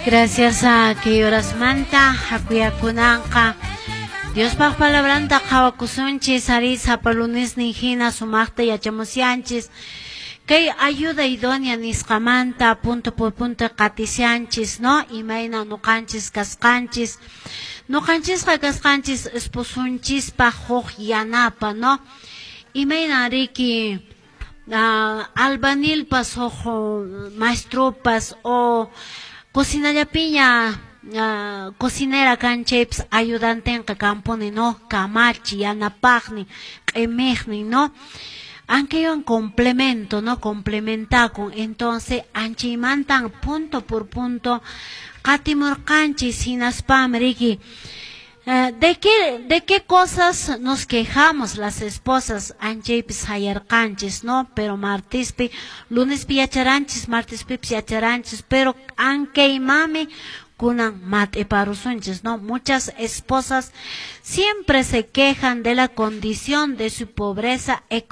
Gracias a kay horasmanta hakuyakunanqa Diospaq palabranta qhawakusunchis, ari, sapa lunesnin hina sumaqta yachamusyanchis. Kay ayuda idónea nisqamanta punto por punto qatisyanchis, no? Imayna nuqanchis kasqanchis. Nuqanchisqa kasqanchis esposunchispaq huk yanapa, no? Imayna riki albañilpas huk maestropas o cocinallapiña cocinera kan chaypas ayudantenqa kanpuni, no? Kamachi, yanapaqnin, q'imiqnin, no? Ankaywan complemento, no? Complementakun. Entonces, anchaymantan punto por punto qatimurqanchis, hinaspam riki ¿De qué cosas nos quejamos las esposas? Anchaypis hayarqanchis, no? Pero martispi, lunespi yacharanchis, martispipis yacharanchis, pero ankaymanmi kunan mat'iparusunchis, no? Muchas esposas siempre se quejan de la condición de su pobreza económica.